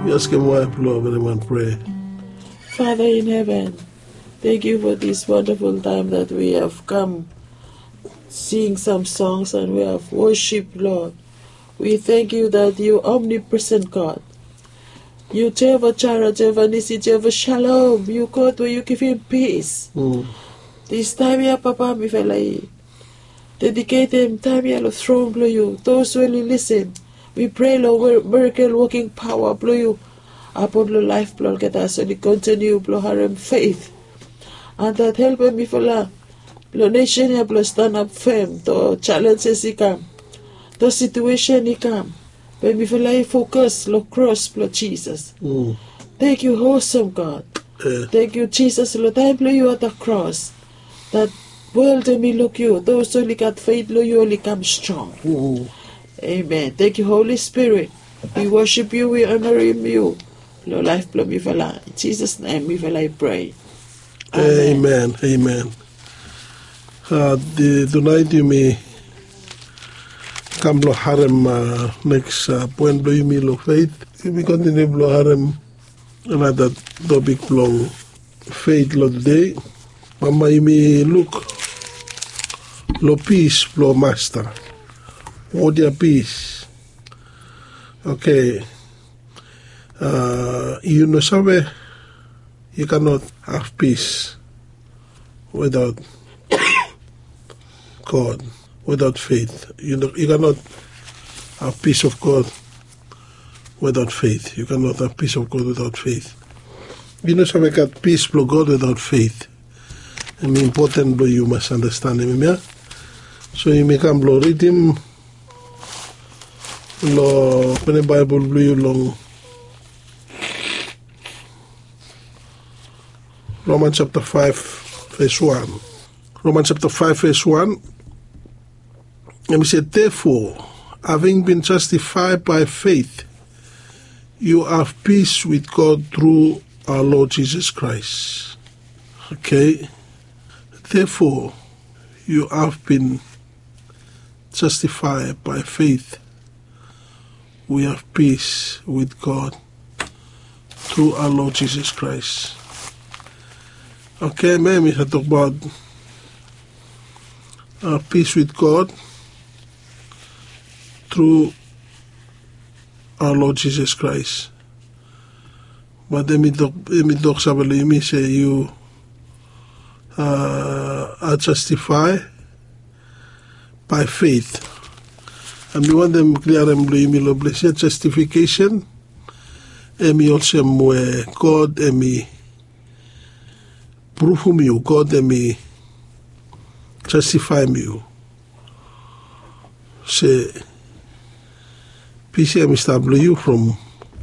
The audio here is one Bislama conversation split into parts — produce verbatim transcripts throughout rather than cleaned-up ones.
Yu askem waef blong everimwan prea. Father in heaven, thank you for this wonderful time that we have come sing some songs and we have worship, Lord. We thank you that you omnipresent God. You Jehovah Jireh, Jehovah Nissi, Jehovah Shalom. You God where you give him peace. This time ya Papa, mifala i dediketem taem ya long tron blong yu. Those we oli lisin, mi prea long mirakel woking paoa blong yu apon long laef blong olgeta as oli kontiniu blong harem feit. An dat helpem mifala long nesen ya blong stanap fem to jalenjes i kam, to situesen i kam, be mifala i fokas long kros blong Jisas. Thank you, awesome God. Thank you, Jesus, long taem blong yu at the cross. Dat wol em i luk yu, those oli gat feit long yu oli kam strong. Amen. Thank you, Holy Spirit. We worship you, we honorim yu. Long laef blong mifala. In Jesus' name mifala i prea. Amen. Amen. Tunaet yumi kam blong harem neks poen blong yumi long feit. Yumi kontiniu blong harem anata topik blong feit long tudei. Bambae yumi luk long pis blong Masta. Wod ya pis. Oke. Yu no save, yu kanot haf pis wetaot God, wetaot feit. Yu kanot haf pis of God wetaot feit. Yu kanot haf pis of God wetaot feit. Yu no save gat pis blong God wetaot feit. Em i impoten blong yu mas anastenem hemia. So yumi kam blong ridim long openem Baebol blong yu long Roman japta faef ves wan. Roman japta faef ves wan. Em i se, therefore, having been justified by faith, you have peace with God through our Lord Jesus Christ. Okay. Therefore, you have been justified by faith. We have peace with God through our Lord Jesus Christ. Okay, man, we have talked about uh, peace with God through our Lord Jesus Christ. Bat em i tok, em i tok save long yumi se yu a justifai bai feit. Em i wantem kliarem long yumi long ples ya, justification em i olsem we God em i pruvum yu, God em i jastifaem yu. Se pis ya em i stap long yu from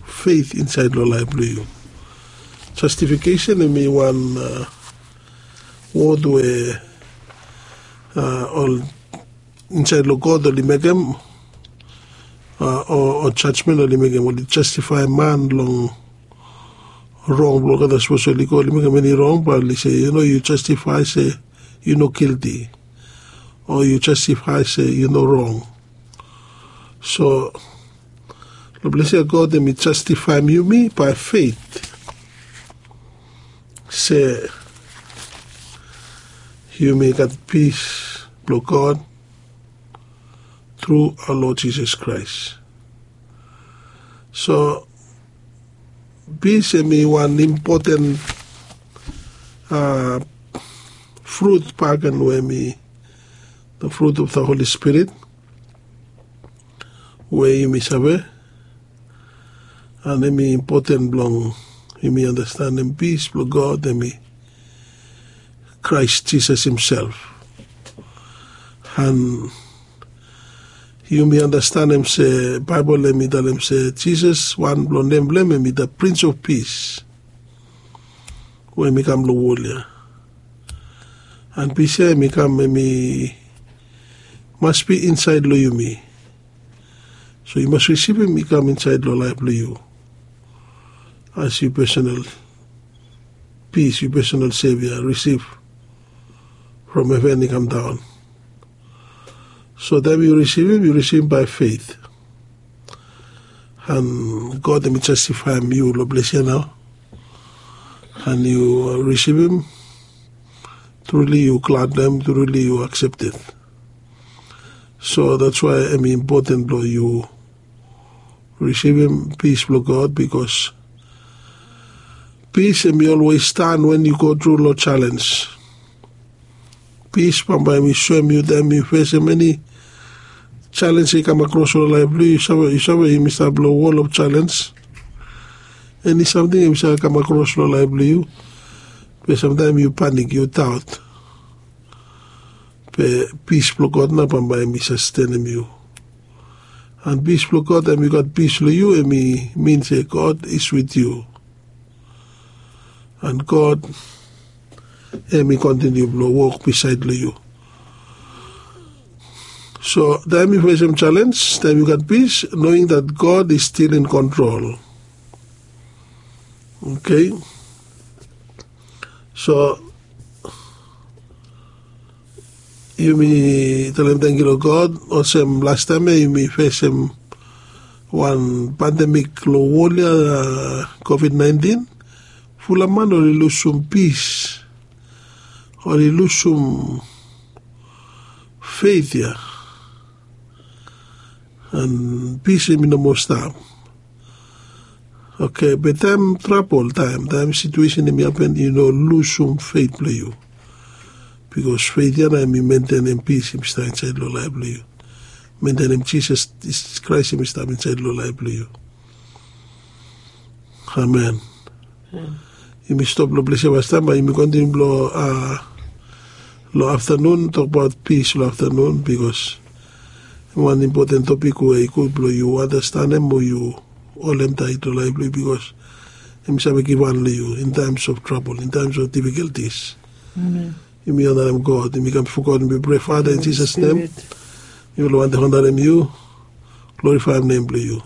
feit insaed long laef blong yu. Jastifikeisen em i wan wod we ol insaed long God oli mekem, o jajmen oli mekem, oli jastifaem man long rong blong olgeta. Sapos oli go oli mekem eni rong, bae oli se, yu no, yu jastifae se yu no gilti, o yu jastifae se yu no rong. So long ples ya God em i jastifaem yumi bai feit, se yumi gat pis blong God tru aoa Lod Jisas Kraes. So pis em i wan impoten frut bakegen we em i the fruit of the Holy Spirit we yumi save. An em i impoten blong yumi anastenem pis blong God em i Kraes Jisas himself. An yumi anastenem se Baebol em i talem se Jisas, wan blong nem blong hem em i the Prince of Peace we em i kam long wol ya. An pis ya em i kam, em i mas bi insaed long yumi. So yu mas risivim i kam insaed long laef blong yu as yu pesonal pis, yu pesonal Sevia, risiv from heven i kam daon. So taem yu risivim, yu risivim bai feit. An God em i jastifaem yu long ples ya nao. An yu risivim, truli yu glad long em, truli yu aksepted. So dats wae em i impoten blong yu risivim pis blong God, bikos pis em i olwes stan wen yu go tru long jalens. Pis bambae em i soem yu taem yu fesem eni jalens i kam akros long laef blong yu. Yu save yumi stap long wol of jalens. Eni samting em i save kam akros long laef blong yu, be samtaem yu panik, yu daot. Be pis blong God nao bambae em i sastenem yu. An pis blong God taem yu gat pis long yu, em i min se God is with yu. An God em i kontiniu blong wok bisaed long yu. So taem yu fesem jalens, taem yu gat pis, knowing that God is still in control. Okay. So yumi talem tangkiu long God. Olsem lastaem ya yumi fesem wan pandemik long wol ya, COVID nineteen. Fulap man oli lusum pis, oli lusum feit ya. An pis em i no moa stap. Okay, be taem trabol taem, taem situesen em i hapen, yu no lusum feit blong yu. Bikos feit ya nao em i mentenem pis em i stap insaed long laef blong yu. Mentenem Jisas Kraes em i stap insaed long laef blong yu. Amen. Yumi stop long ples ya pastaem, bae yumi kontiniu blong long aftanun, tokbaot pis long aftanun, bikos em wan impoten topik we i gud blong yu anastanem o yu holem taet long laef blong yu, bikos em i save givhan long yu in times of trouble, in times of difficulties. Yumi onarem God, yumi kam bifo God, yumi prea, Fada, in Jisas nem. Yumi wantaem onarem yu, glorifaem nem blong yu.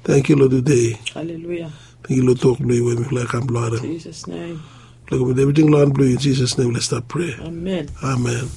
Tangkiu long tude. Tangkiu long tok blong yu we mifala i kam blong harem. Mifala komitim evriting long han blong yu, in Jisas nem mifala stap prea. Amen.